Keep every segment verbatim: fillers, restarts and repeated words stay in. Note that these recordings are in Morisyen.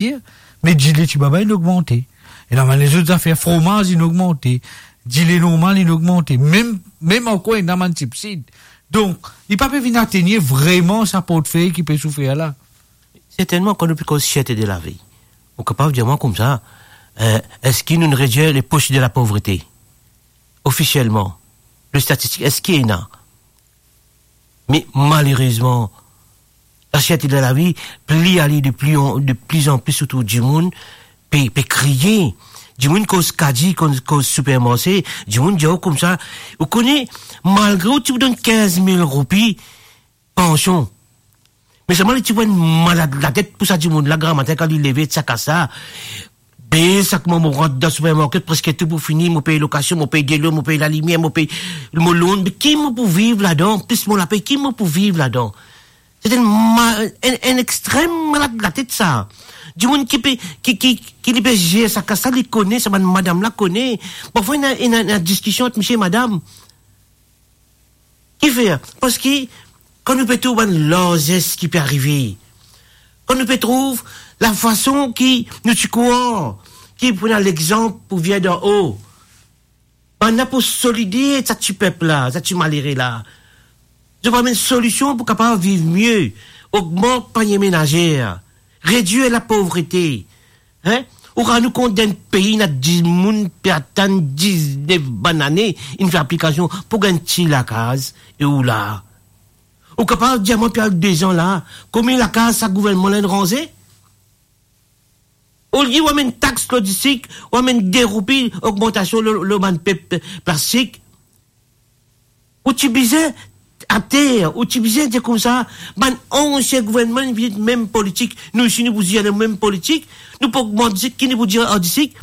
Me dile tibaba inn ogmante. Ena bann lezot zafer, fromaz inn ogmante, dile normal inn ogmante, mem, mem ankor ena bann tipsid. Donk, li pa pe vinn atenir vreman sa portfey ki pe soufer la. Sertennman, kan nou pe koz sierte de lavi, ou kapav dir mwa koumsa, eh, eski nou redir le poch de la povrete? Ofisielman, le statistik, eski ena? Me malerezman, lasierte de lavi pli ale de pli an, de pli an pli otour dimoun, pe, pe kriye. Dimoun koz kadi, koz, koz sipermarse, dimoun dir ou koumsa, ou kone, malgre ou ti pou donn kinz mil roupi pansion, me selman li ti pou enn malad latet pou sa dimoun la, gramatin kan li leve, sa kas la, be sa kouma mo rant dan sipermarket, preske tou pou fini, mo pey lokasion, mo pey delo, mo pey lalimier, mo pey mo loan, me ki mo pou viv ladan? Plis mo lapey, ki mo pou viv ladan? Se enn ma-, enn, enn extrem malad latet sa. Dimoun ki pe, ki, ki, ki li pe zer sa kas la, li kone, sa bann madam la kone. Parfwa ena, ena, ena diskision ant misie e madam. Kifer? Parski kan nou pe trouv bann larzes ki pe arive, kan nou pe trouv lafason ki nou ti krwar ki pou ena lexanp pou vinn dan o, bann la pou solide sa ti pep la, sa ti malere la. Zot pou amenn solision pou kapav viv mie, ogmant panie menazer, redir lapovrete. Hein? Ou rann ou kont, dan enn pei ena dimoun pe atann diznef bann ane, inn fer aplikasion pou gagn ti lakaz, e ou la. Ou kapav dir mwa, pi al dezan la, konbien lakaz sa gouvernman la inn ranze? Olie ou amenn tax lor disik, ou amenn de roupi ogmantasion lor, lor bann pe, pe, plastik, ou ti bizin ater, ou ti bizin dir koumsa, bann ansien gouvernman vinn mem politik, nou isi nou pou dir mem politik, nou pou ogmant disik, ki nou pou dir ar disik?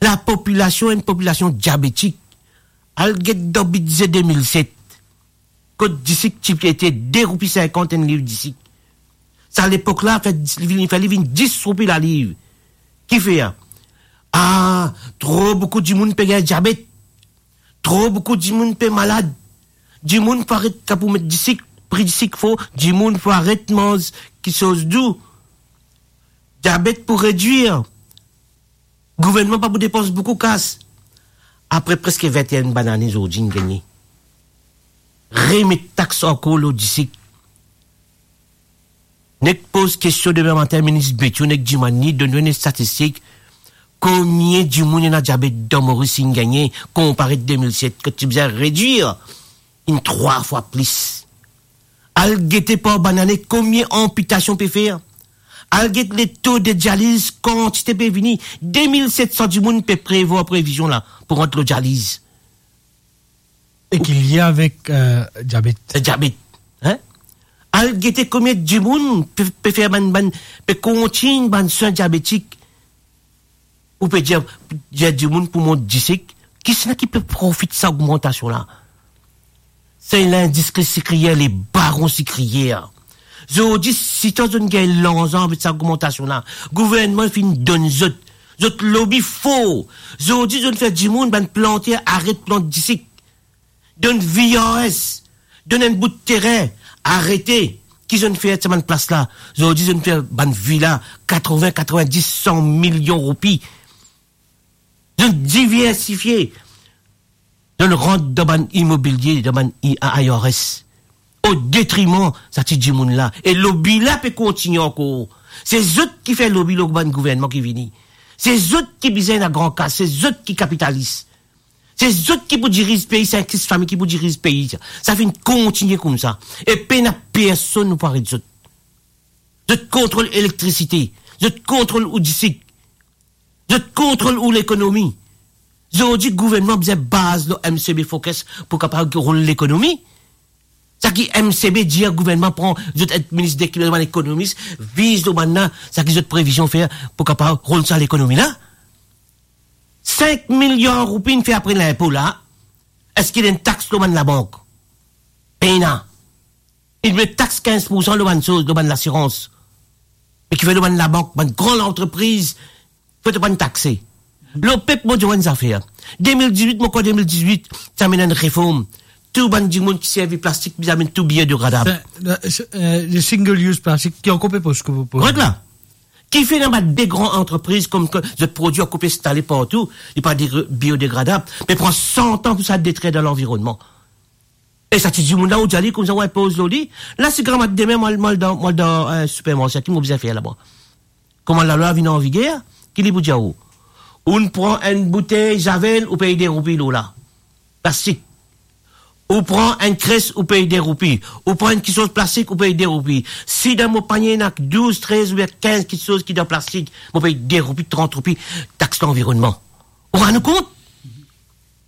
Lapopilasion, enn popilasion diabetik. Al get dan bidze de mil set, kot disik ti ete de roupi sinkant enn liv disik. Sa lepok la, fer, li vinn, fer li vinn dis roupi laliv. Kifer? Ah, tro boukou dimoun pe gagn diabet. Tro boukou dimoun pe malad. Dimoun pou aret, kan pou met disik, pri disik fo, dimoun pou aret manz kiksoz dou. Diabet pou redwir. Gouvernman pa pou depans boukou kas. Apre preske vinte-enn bann ane, zordi inn gagne remet tax ankor lor disik. Nek poz kestion demin matin minis Bethio, nek dimann li, donn nou enn statistik, konbien dimoun ena diabet dan Moris inn gagne, konpare de mil set, kot ti bizin redwir, inn trwa fwa plis. Al gete par bann ane konbien anpitasion pe fer. Al get leto de dializ, kantite pe vini, de mil set san dimoun pe prevwar previzion la pou rant lor dializ. E ki lie avek, eh, diabet. Eh, diabet, hein? Al gete konbien dimoun pe, pe fer bann, bann, pe kontign bann swin diabetik. Ou pe dir, dir dimoun pou mont disik, kisannla ki pe profit sa ogmantasion la? Se lindistri sikriyer, le baron sikriyer. Zordi, sitan zot gagn larzan avek sa ogmantasion la, gouvernman finn donn zot, zot lobi for. Zordi, zot fer dimoun, bann planter, aret plant disik. Donn V R S, donn enn bout terin, arete. Ki zot fer sa bann plas la? Zordi zot fer bann vila, katrovin, katrovin-dis, san milion roupi. Zot diversifie. Zot rant dan bann imobilie, dan bann I-, I R S, o detriman sa ti dimoun la. E lobi la pe kontigne ankor. Se zot ki fer lobi lor bann gouvernman ki vini. Se zot ki bizin ena gran kas, se zot ki kapitalis. Se zot ki pou diriz pei, se enn sis fami ki pou diriz pei. Sa finn kontigne koumsa. E pena personn nou pou aret zot. Zot kontrol elektrisite, zot kontrol ou disik, zot kontrol ou lekonomi. Zordi gouvernman bizin baz lor M C B Focus pou kapav rol lekonomi. Sa ki M C B dir gouvernman pran, zot enn minis de kilomèt, bann ekonomis, viz lor bann la, sa ki zot previzion fer pou kapav rol sa lekonomi la. Sink miliar roupi inn fer apre linpo la, eski ena enn tax lor bann labank? Pena. Inn met tax kinz poursan lor bann soz, lor bann lasirans. Me kifer lor bann labank, bann gran lantrepriz, fode pa inn takse. Lor pep, mo dir enn zafer. De mil dizwit, mo krwar de mil dizwit, ti amenn enn reform. Tou bann dimoun ki servi plastik, bizin amenn tou biye biodegradab. Sa, le, se, eh, le single use plastic ki ankor pe poz, poz. Korek la. Kifer ena bann de gran antrepriz kouma zot prodwi ankor pe instale partou, li pa degre-, biodegradab, me pran san an pou sa detrir dan lanvironnman. E sa ti dimoun la, ou dir li koumsa, ou inpoz lor li. La, si grama demin, mo al, mo al dan, mo al dan, eh, sipermarse, ki mo bizin fer laba? Kouma lalwa vinn anviger, ki li pou dir ou? Ou pran enn boutey Javel, ou pey de roupi lor la. Plastik. Ou pran enn kres, ou pey de roupi. Ou pran enn kiksoz plastik, ou pey de roupi. Si dan mo panie ena douz, trez oubien kinz kiksoz ki dan plastik, mo pey de roupi, trant roupi, tax lanvironnman. Ou rann ou kont?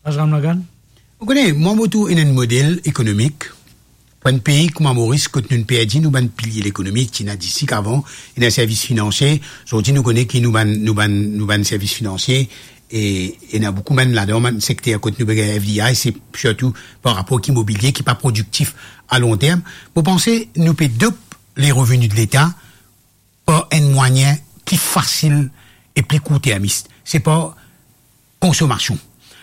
Azram Lagan. Ou kone, mwa mo trouv ena enn model ekonomik pou enn pei kouma Moris, kot nou perdi nou bann pilie lekonomi, ti ena disik avan, ena servis finansie. Zordi nou kone ki nou bann, nou bann, nou bann servis finansie, e ena boukou bann ladan, bann sekter kot nou pe gagn F D I, se sirtou par rapor ek imobilie ki pa prodiktif a lon term. Mo panse nou pe dop lereveni de Leta par enn mwayin pli fasil e pli kourtermis. Se par konsomasion.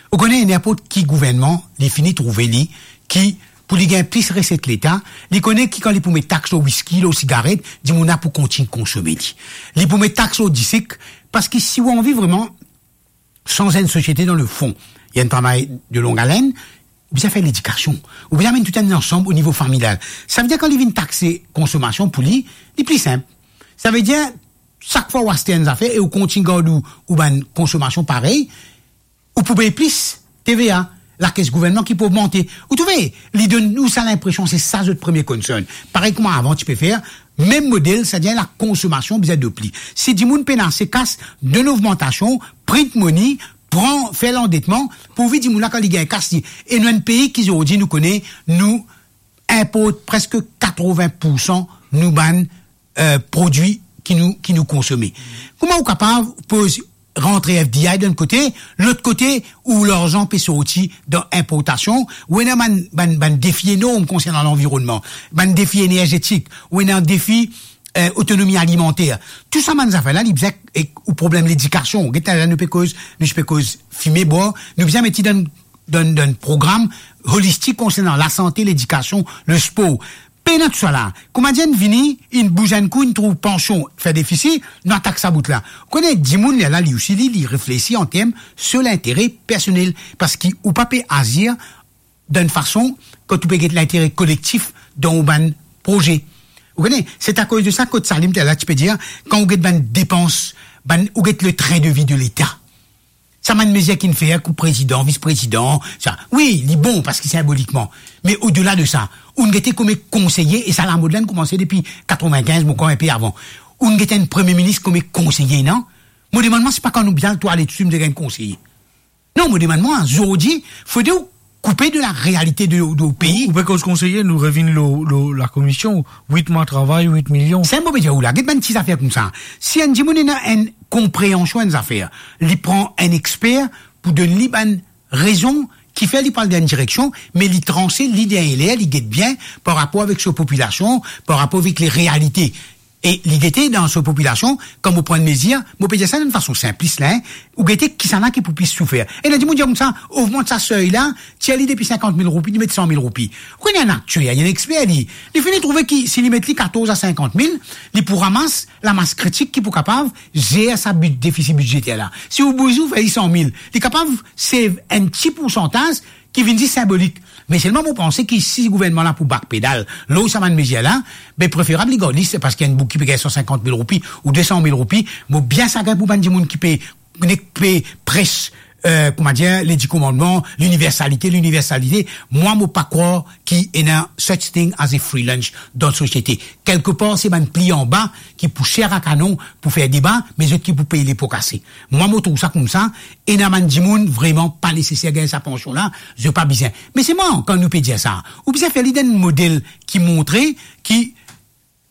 Ou kone, ninport ki gouvernman, li fini trouve li ki, pou li gagn plis reset Leta, li kone ki kan li pou met tax lor wiski, lor sigaret, dimoun la pou kontign konsome li. Li pou met tax lor disik, parski si ou anvi vreman sanz enn sosiete dan le fon, li enn travay de long aleine, ou bizin fer ledikasion. Ou bizin amenn tou enn ansam o nivo familial. Savedir kan li vinn takse konsomasion pou li, li pli sinp. Savedir, sak fwa ou aste enn zafer e ou kontign gard ou, ou bann konsomasion parey, ou pou pey plis T V A, lakes gouvernman ki pou ogmante. Ou trouve, li donn nou sa linpresion, se sa zot premie concern. Parey kouma avan ti pe fer, mem model, savedir lakonsomasion bizin dop li. Si dimoun pena ase kas, donn ogmantasion, print money, pran, fer landetman, pourvi dimoun la kan li gagn kas li. E nou enn pei ki zordi nou kone, nou inport preske katrovin poursan nou bann, eh, prodwi ki nou, ki nou konsome. Kouma ou kapav poz rantre F D I dan enn kote, lot kote ou larzan pe sorti dan inportasion, ou ena bann, bann, bann defi enorm konsernan lanvironnman, bann defi enerzetik, ou ena defi, eh, otonomi alimanter. Tou sa bann zafer la, li bizin, ek ou problem ledikasion. Get la, nou pe koz, nou pe koz fime bwar, nou bizin met li dan, dan, dan program holistik konsernan lasante, ledikasion, lespor. Pena tousala. Kouma dir, inn vini, inn bouz enn kou, inn trouv pansion fer defisi, nou atak sa bout la. Ou kone, dimoun lerla, li osi, li, li reflesi an term so lintere personel, parski ou pa pe azir dan enn fason kot ou pe get lintere kolektif dan ou bann proze. Ou kone, se akoz de sa kot Salim lerla ti pe dir, kan ou get bann depans, bann, ou get le train de vie de Leta. Sa bann mezir ki'nn fer kot prezidan, vis-prezidan, sa, wi, li bon parski sinbolikman. Me odela de sa, ou'nn gete kouma konseye, e sa lamod la inn koumanse depi katrovin-kinz, mo krwar inpe avan. Ou'nn gete enn premie minis kouma konseye, non? Mo demann mwa, se pa kan nou bizin al twalet, si nou gagn konseye. Non, mo demann mwa, zordi, fode ou koupe de larealite de, de ou pei. Ou pe koz konseye, nou revinn lor, lor lakomision, wit mwa travay, wit milion. Sa mo pe dir ou la, get bann ti zafer koumsa. Si enn dimoun ena enn konpreansion enn zafer, li pran enn exper pou donn li bann rezon ki fer li pral dan enn direksion, me li transe, li deryer ler, li get bien par rapor avek so popilasion, par rapor avek lerealite. E li gete dan so popilasion, kan mo pran enn mezir, mo pe dir sa dan enn fason sinplis la, hein, ou gete kisannla ki pou plis soufer. Ena dimoun dir koumsa, ogmant sa sey la, tir li depi sinkant mil roupi, li met san mil roupi. Ou kone enn aktier, enn exper, li, li fini trouve ki si li met li katorz a sinkant mil, li pou ramas lamas kritik ki pou kapav zer sa bid-, defisi bidzeter la. Si ou bouze, ou fer li san mil, li kapav save enn ti poursantaz ki vinn zis sinbolik. Me selman mo panse ki si gouvernman la pou bak pedal lor sa bann mezir la, be preferab li gard li, se parski enn boug ki pe gagn san sinkant mil roupi ou de san mil roupi, mo bien sagrin pou bann dimoun ki pe, ki pe pres, eh, kouma dir, le di komannman, liniversalite, liniversalite. Mwa, mo pa krwar ki ena such thing as a free lunch dan sosiete. Kelkepar, se bann pli anba ki pou ser a kanon pou fer deba, me zot ki pou pey lepo kase. Mwa, mo trouv sa koumsa, ena bann dimoun vreman pa neseser gagn sa pansion la, zot pa bizin. Me selman, kan nou pe dir sa, ou bizin fer li dan enn model ki montre ki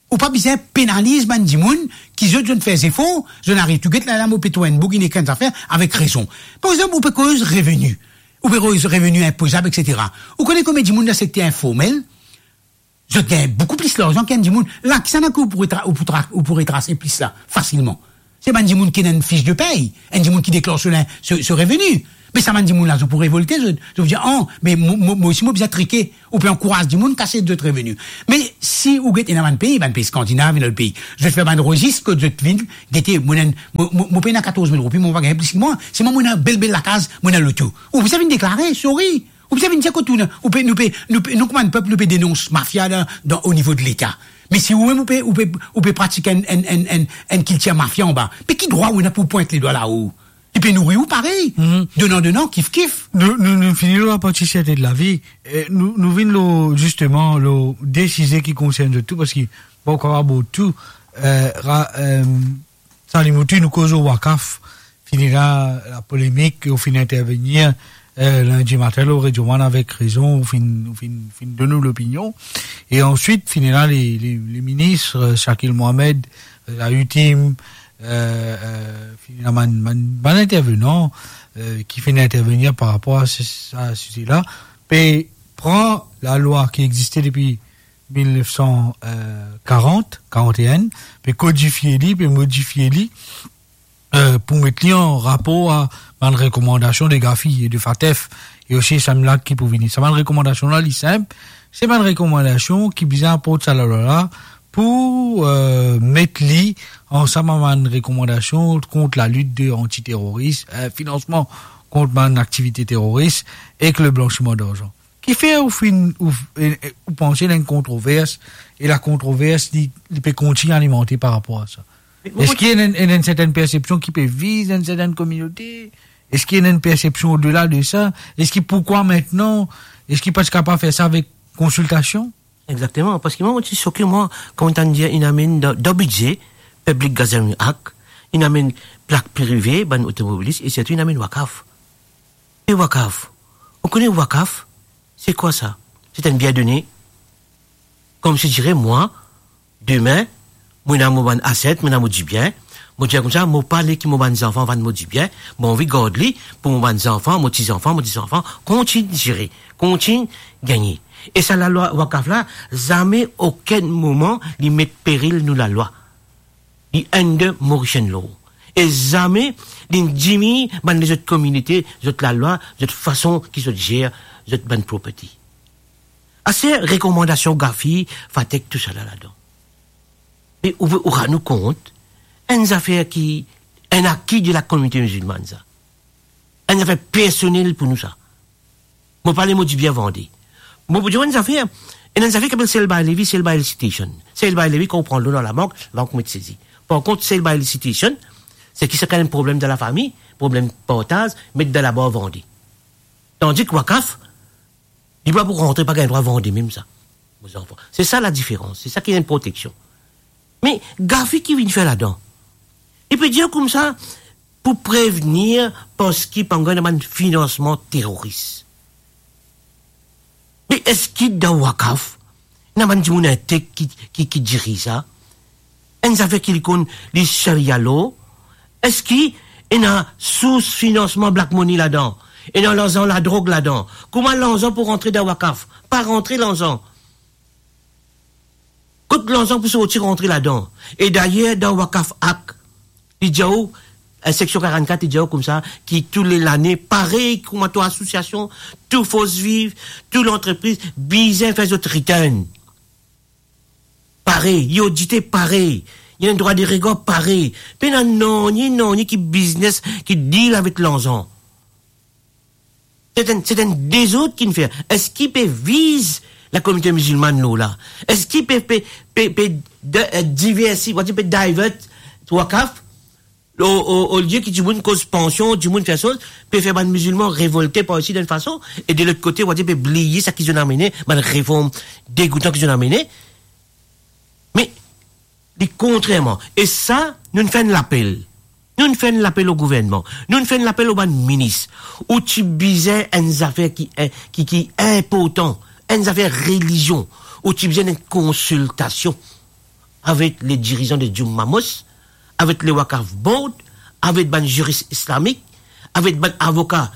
ou pa bizin penaliz bann dimoun ki zot, zot fer zefor, zot ariv tou get la, la, mo pe trouv enn boug inn ekrir enn zafer avek rezon. Par exanp, ou pe koz reveni. Ou pe koz reveni inpozab, et cetera. Ou kone konbien dimoun dan sekter informel, zot gagn boukou plis larzan ki enn dimoun. La, kisannla ki ou pou retra-, ou pou tra-, ou pou retrase plis la, fasilman? Se bann dimoun ki ena enn fich de pey, enn dimoun ki deklar so lin-, so, so reveni. Me sa bann dimoun la, zot pou revolte, zot, zot pou dir, "Oh, me mo, mo, mo osi, mo bizin trike." Ou pe ankouraz dimoun kas zot reveni. Me si ou get ena bann pei, bann pei Skandinav, ena lot pei, zot fer bann rezis kot zot vinn, gete, mo ena, mo, mo, mo pena katorz mil roupi, mo pa gagn plis ki mwa. Selman mo ena bel, bel lakaz, mo ena loto. Ou bizin vinn deklare, sorry. Ou bizin vinn dir kot ou, ou pe, nou pe, nou pe, nou kouma enn pep, nou pe denons mafia dan, dan, o nivo de Leta. Me si ou mem ou pe, ou pe, ou pe pratik enn, enn, enn, enn, enn kiltir mafia anba, pe ki drwa ou ena pou pwint ledwa lao? Li pe nouri ou parey. Mhm. Donan, donan, kif, kif. Nou, nou, nou fini lor laparti serte de lavi. E nou, nou vinn lor, zisteman, lor de size ki konsern zot tou, parski pa ou kapav abord tou. E, ra-, e, Salim Outi, nou koz lor Wakaf. Fini la, lapolemik, ou finn intervenir, e, lindi matin lor Radio One avek rezon, ou finn, ou finn, finn donn ou lopinion. E answit, fini la, le, le, le minis, e, Shakil Mohamed, e, la UTIM, e, e, fini la, bann, bann, bann intervenan, e, ki finn intervenir par rapor a se, sa, size la, pe pran lalwa ki existe depi mil nef san karant, karant-e-enn, pe kodifie li, pe modifie li, e, pou met li an rapor a bann rekomandasion de GAFI e de FATF, e osi samem la ki pou vini. Sa bann rekomandasion la, li sinp, se bann rekomandasion ki bizin aport sa lalwa la pou, e, met li ansam a bann rekomandasion kont lalit de antiteroris, e, finansman kont bann aktivite teroris ek le blanchiman darzan. Kifer ou finn, ou, e, e, ou panse ena enn kontrovers, e lakontrovers, li, li pe kontign alimante par rapor a sa? Me mo, eski ena enn, ena enn sertenn persepsion ki pe viz enn sertenn kominote? Eski ena enn persepsion odela de sa? Eski, pourkwa aster? Eski pa ti kapav fer sa avek konsiltasion? Exakteman, parski mwa, mo ti soke, mwa, kouma tann dir, inn amenn dan, dan bidze, Public Gathering Act, inn amenn plak prive, bann otomobilis, e sirtou inn amenn Wakaf. E Wakaf, ou kone Wakaf? Se kwa sa? Se enn bien done. Koumsidire mwa, demin, mo ena mo bann aset, mo ena mo dibien, mo dir koumsa, mo pa le ki mo bann zanfan vann mo dibien, mo anvi gard li pou mo bann zanfan, mo tizanfan, mo tizanfan, kontign zire, kontign gagne. E sa lalwa Wakaf la, zame okenn moman li met peril nou lalwa. Li under Mauritian law. E zame li diminn bann lezot kominote, zot lalwa, zot fason ki zot zer zot bann property. Aster rekomandasion GAFI, FATF, tousala ladan. Me ou, ou rann ou kont, enn zafer ki, enn aki de lakominote mizilmann sa. Enn zafer personel pou nou sa. Mo pa le mo dibien vande. Mo pou dir enn zafer, ena enn zafer ki apel sale by levy, sale by elicitation. Sale by levy, kan ou pran loan dan labank, labank met sezi. Par kont, sale by elicitation, se ki sa kan enn problem dan lafami, problem partaz, met dan labar vande. Tandis ki Wakaf, li pa pou rantre, pa gagn drwa vande mem sa. Mo zanfan. Se sa ladiferans, se sa ki enn proteksion. Me GAFI ki vinn fer ladan? Li pe dir koumsa, pou prevenir, parski pa gagn bann finansman teroris. Me eski dan Wakaf, ena bann dimoun intek ki, ki, ki diriz sa? Enn zafer ki li konn, li Sharia law, eski ena sours finansman black money ladan? Ena larzan ladrog ladan? Kouma larzan pou rantre dan Wakaf? Pa rantre larzan. Kot larzan pou sorti rantre ladan? E dayer, dan Wakaf Act, li dir ou, eh, seksion karannkat, li dir ou koumsa, ki tou le lane, parey kouma tou asosiasion, tou Force Vive, tou lantrepriz, bizin fer zot return. Parey, li odite parey, li ena drwa de regar parey. Pena nanye, nanye ki biznes ki deal avek larzan. Se enn, se enn dezord ki'nn fer. Eski pe viz lakominote mizilmann law la? Eski pe, pe, pe, pe de, eh, diversi, wadir pe divert Wakaf? O, o, olie ki dimoun koz pansion, dimoun fer soz, pe fer bann mizilman revolte par isi dan enn fason, e de lot kote, wadir pe bliye seki zot amenn, bann reform degoutan ki zot amenn. Me li kontrerman. E sa, nou'nn fer enn lapel. Nou'nn fer enn lapel o gouvernman. Nou'nn fer enn lapel o bann minis. Ou ti bizin enn zafer ki, ki, ki inportan, enn zafer relizion. Ou ti bizin enn konsiltasion avek le dirizan de Juma Mosque, avek le Wakaf Board, avek bann ziris islamik, avek bann avoka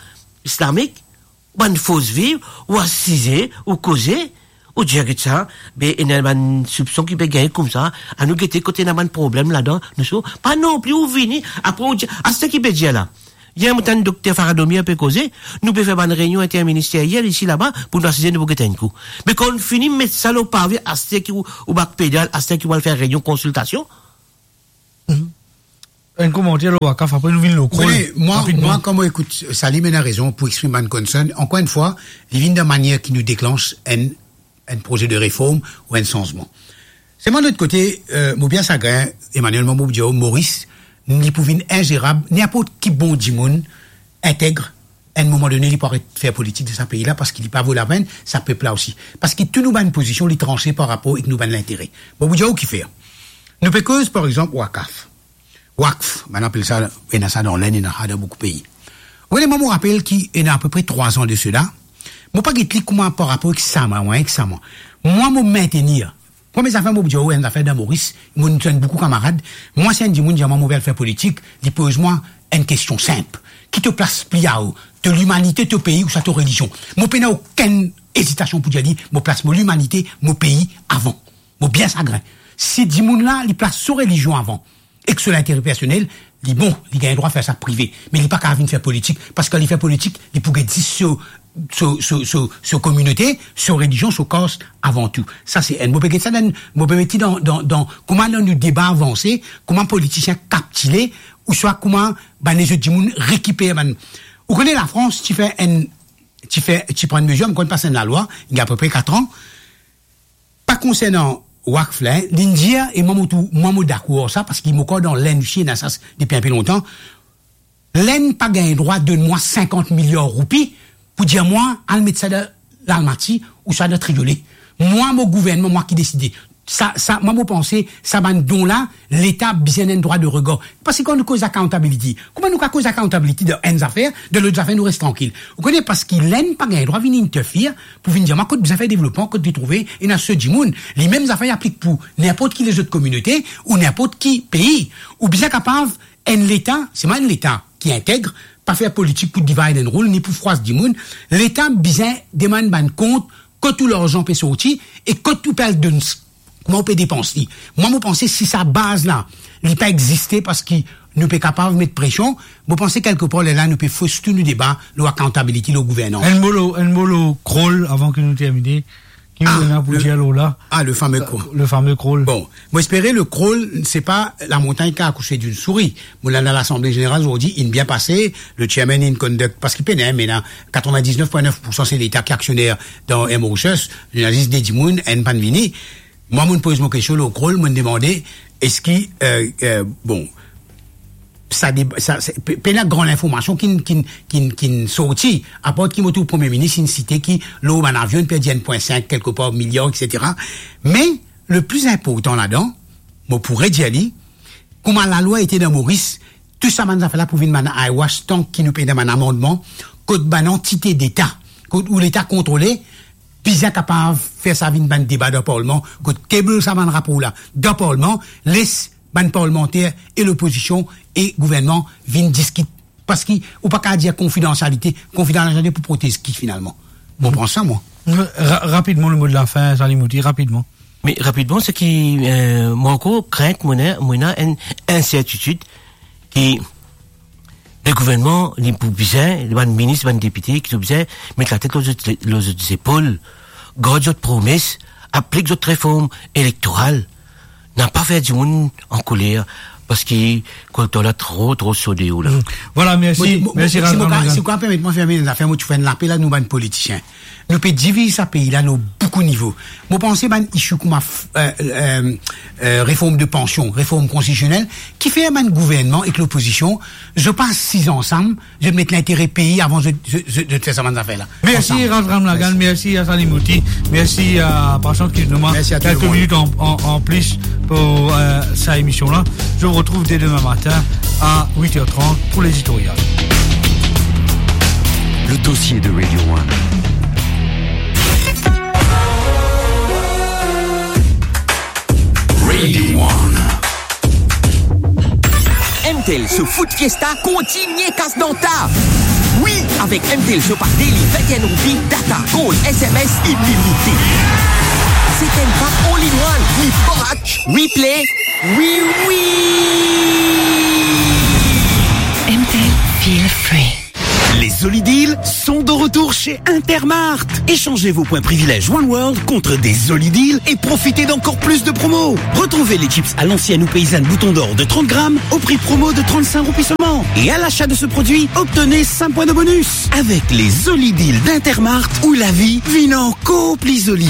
islamik, bann Force Vive, ou asize, ou koze, ou dir, "Get sa, be, ena bann soupson ki pe gagn koumsa, anou gete kot ena bann problem ladan, nou so." Pa nonpli ou vini, apre ou dir, aster ki pe dir la, Yer mo tann Dokter Farah Domia pe koze, nou pe fer bann reynion interministeriel isi laba pou nou asize nou pou get enn kou. Me kan nou fini met sa lor pave, aster ki ou, ou bak pedal, aster ki ou al fer reynion konsiltasion. Enn komanter lor Wakaf, apre nou vinn lor Krol. Wi, mwa, rapidman. Mwa, kan mo ekout Salim, ena rezon pou exprim bann konsern. Ankor enn fwa, li vinn dan manier ki nou deklanch enn, enn proze de reform ou enn sanzman. Selman, lot kote, eh, mo bien sagrin, Emmanuel, mo pou dir, Moris, li pou vinn inzerab, ninport ki bon dimoun, integ, enn moman done, li pou aret fer politik dan sa pei la, parski li pa vo lapenn, sa pep la osi. Parski tou nou bann pozision, li transe par rapor ek nou bann lintere. Mo pou dir ou kifer. Nou pe koz, par exanp, Wakaf. Wakf, bann apel sa, ena sa dan Lenn, ena sa dan boukou pei. Ou kone, mwa, mo rapel ki ena apepre trwa an de sela, mo pa get li kouma par rapor ek sa, mwa, ek sa, mwa. Mwa, mo mintenir. Premie zafer, mo pou dir ou, enn zafer dan Moris, mo, nou enn boukou kamarad. Mwa, si enn dimoun dir mwa, mo pe al fer politik, li poz mwa enn kestion sinp. Ki to plas pli ao, to limanite, to pei, ouswa to relizion? Mo pena okenn ezitasion pou dir li, mo plas mo limanite, mo pei avan. Mo bien sagrin. Si dimoun la, li plas so relizion avan, ek so lintere personel, li bon, li gagn drwa fer sa prive. Me li pa kav vinn fer politik, parski kan li fer politik, li pou get zis so, so, so, so, so kominote, so relizion, so kas avan tou. Sa se enn. Mo pe get sa dan, mo pe met li dan, dan, dan, kouma dan nou deba avanse, kouma politisien kaptile, ouswa kouma bann lezot dimoun rekiper bann. Ou kone Lafrans ti fer enn, ti fer, ti pran enn mezir, mo konn pas enn lalwa, il y a à peu près quatre ans, pa konsernan Wakf la, hein, li'nn dir, e mwa mo tou, mwa mo dakor sa, parski mo krwar dan Lenn osi, ena sa depi inpe lontan. Lenn pa gagn drwa donn mwa sinkant miliar roupi pou dir mwa, al met sa dan Lalmati ouswa dan Triolet. Mwa, mo gouvernman, mwa ki deside. Sa, sa, mwa, mo panse, sa bann don la, Leta bizin enn drwa de regar. Parski kan nou koz accountability, kouma nou kav koz accountability dan enn zafer, dan lot zafer nou res trankil? Ou kone, parski Lenn pa gagn drwa vinn interfere pou vinn dir mwa kot bizin fer devlopman, kot li trouve ena so dimoun. Li mem zafer aplik pou ninport ki lezot kominote ou ninport ki pei. Ou bizin kapav, enn Leta, selman enn Leta ki integ, pa fer politik pou divide and rule, ni pou fwars dimoun. Leta bizin demann bann kont kot ou larzan pe sorti e kot ou pe al donn, kouma ou pe depans li. Mwa, mo panse si sa baz la, li pa existe parski nou pe kapav met presion, mo panse kelkepar lerla nou pe fos tou nou deba lor accountability, lor gouvernans. Enn mo lor, enn mo lor Krol avan ki nou termine. Ki ou ena pou dir lor la? Ah, le fameux Krol. Le fameux Krol. Bon, mo espere le Krol, se pa lamontagn ki akouche d'une souris. Mo la dan Lasanble Zeneral zordi, inn bien pase, le chairman inn conduct, parski pena, me ena katrevin-diznef pwin nef poursan se Leta ki aksioner dan Air Mauritius, li ena zis de dimoun, enn pa'nn vini. Mwa, mo'nn poz mo kestion lor Krol, mo'nn demande, eski, eh, eh, bon, sa deb-, sa, sa, pe-, pena gran linformasion ki'nn, ki'nn, ki'nn, ki'nn sorti, apar ki mo trouv Premie Minis inn site ki lor bann avion, inn perdi enn pwin sink kelkepar miliar, et cetera. Me le pli inportan ladan, mo pou redir li, kouma lalwa ete dan Moris, tou sa bann zafer la pou vinn bann eyewash, tan ki nou pena bann amannman, kot bann antite Leta, kot ou Leta kontrole, bizin kapav fer sa vinn bann deba dan Parlman, kot table sa bann rapor la dan Parlman, les bann parlmanter e lopozision e gouvernman vinn diskit. Parski ou pa kav dir konfidansialite, konfidansialite pou protez ki finalman? Mo pran sa, mwa. Ra-, rapidman, le mo de la fin, Salim Moti, rapidman. Me rapidman, se ki, eh, mwa ankor, krint, mo ena, mo ena enn insertitid ki le gouvernman, li pou bizin, bann minis, bann depite, ki pou bizin met latet lor zot, lor zot zepol, gard zot promes, aplik zot reform elektoral. Na pa fer dimoun ankoler, parski kolekter la tro, tro so deor la. Mm. Vwala, mersi, mo, mo, mersi, si mo Razvan ka, Razvan. Si ou ka permet mwa ferme enn zafer, mo ti fer enn lapel a nou bann politisien. Nou pe diviz sa pei la lor boukou nivo. Mo panse bann issue kouma f-, eh, eh, eh, reform de pansion, reform konstitisionel, kifer bann gouvernman ek lopozision, zot pa asiz ansam, zot met lintere pei avan zot, zot, zot, zot fer sa bann zafer la. Mersi, ansam. Razvan Razvan, mersi. Mersi a Salim Moti, mersi a Patience ki donn mwa kelke minit an, an, an plis pou, eh, sa emision la. Je vous retrouve dès demain matin à huit heures trente pour l'éditorial. Le dossier de Radio One. Radio One. M T L Show Foot Fiesta kontinie kas dan ta. Wi, avek M T L Show par daily, vinn-enn roupi, data, call, S M S, ilimite. Se enn pack all in one, ni match, replay, wi, wi. M T L, feel free. Zoli deals sont de retour chez Intermart. Échangez vos points privilèges One World contre des zoli deals et profitez d'encore plus de promos. Retrouvez les chips à l'ancienne ou paysanne Bouton d'Or de trente grammes au prix promo de trente-cinq roupies seulement. Et à l'achat de ce produit, obtenez cinq points de bonus. Avec les zoli deals d'Intermart, où la vie vient encore plus zoli.